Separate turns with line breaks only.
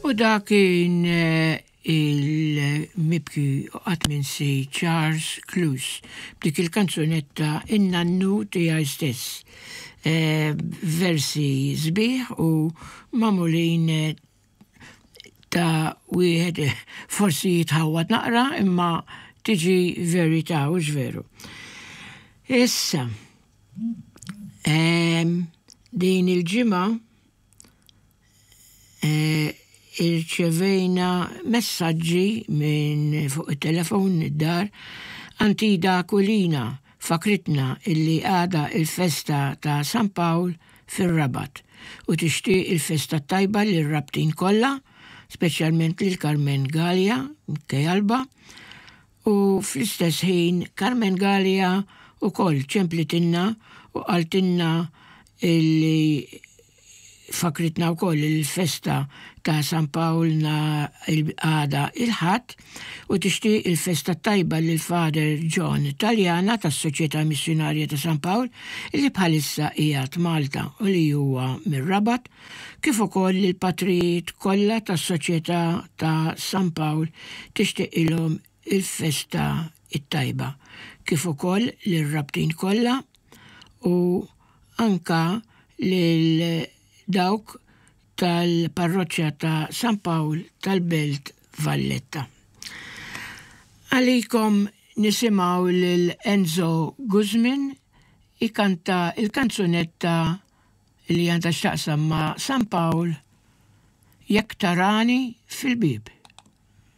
U dak kien eh, il-mibki u qatt minsi Charles Cluse b'dik il-kanzunetta In-nannu tiegħi stess. Eh, versi sbieħ u magħmulin eh, ta' wieħed forsi jitħawwad naqra imma tiġi verità u veru. Issa, ehm, din il-ġimgħa eh, irċevejna messaġġi minn fuq it-telefon id-dar Antida Kulina fakritna illi għada il-festa ta' San Pawl fir-Rabat u tixtieq il-festa t-tajba lir-Rabtin kollha, speċjalment lil Carmen Galea Kejalba, u fl-istess ħin Carmen Galea wkoll ċemplitilna u qaltilna illi Fakkritna wkoll il-festa ta' San Pawl nhar għada il-Ħadd u tixtieq il-festa t-tajba lil Father John Taliana tas-Soċjetà Missjunarja ta' San Pawl li bħalissa qiegħed Malta u li huwa mir-Rabat kif ukoll lill-patrijiet kollha tas-Soċjetà ta' San Pawl tixtieqilhom il-festa t-tajba kif ukoll lir-Rabtin kollha u anka lil dawk tal-Parroċċa ta' San Pawl tal-Belt Valletta. Għalikom nisimgħu lil Enzo Guzmin ikanta l-kanzunetta li għandha x'taqsam ma' San Pawl Jekk Tarani fil-Bieb.